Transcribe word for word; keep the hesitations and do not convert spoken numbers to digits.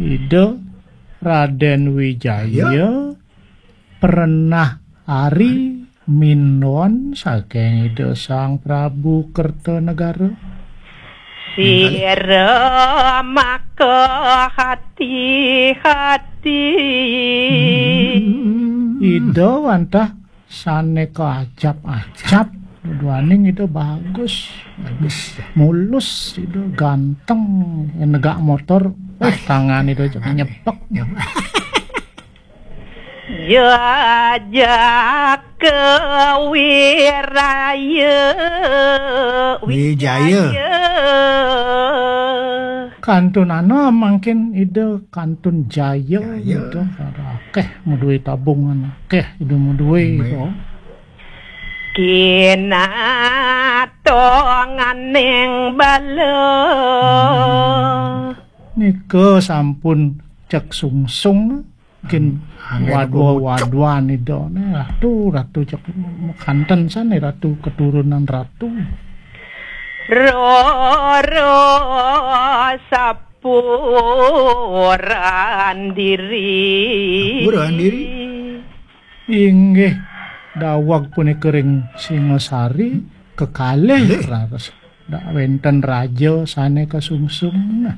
Ida Raden Wijaya pernah ari minduan saking Ida Sang Prabu Kertanegara. Sira maka hati-hati. Ida wantah sane kaajap-ajap. Duaning Ida bagus. Bagus. Mulus Ida, ganteng, negak motor. Eh, tangan Ida nyepek. Jajaka wiraya. Wijaya. Kantun ana mangkin Ida kantun jaya. Jaya. Ida akeh maduwe tabungan, akeh Ida maduwe. Kinatong aning bala. Nika sampun cek sungsung, mungkin wadwa-wadwan Ida ne, ratu, ratu cek kanten sane, ratu keturunan ratu. Roro sapuran diri. Sapuran diri. Inggih, daweg punika ring Singasari kekalih raos. Dak wenten raja sane kasungsung. Nah,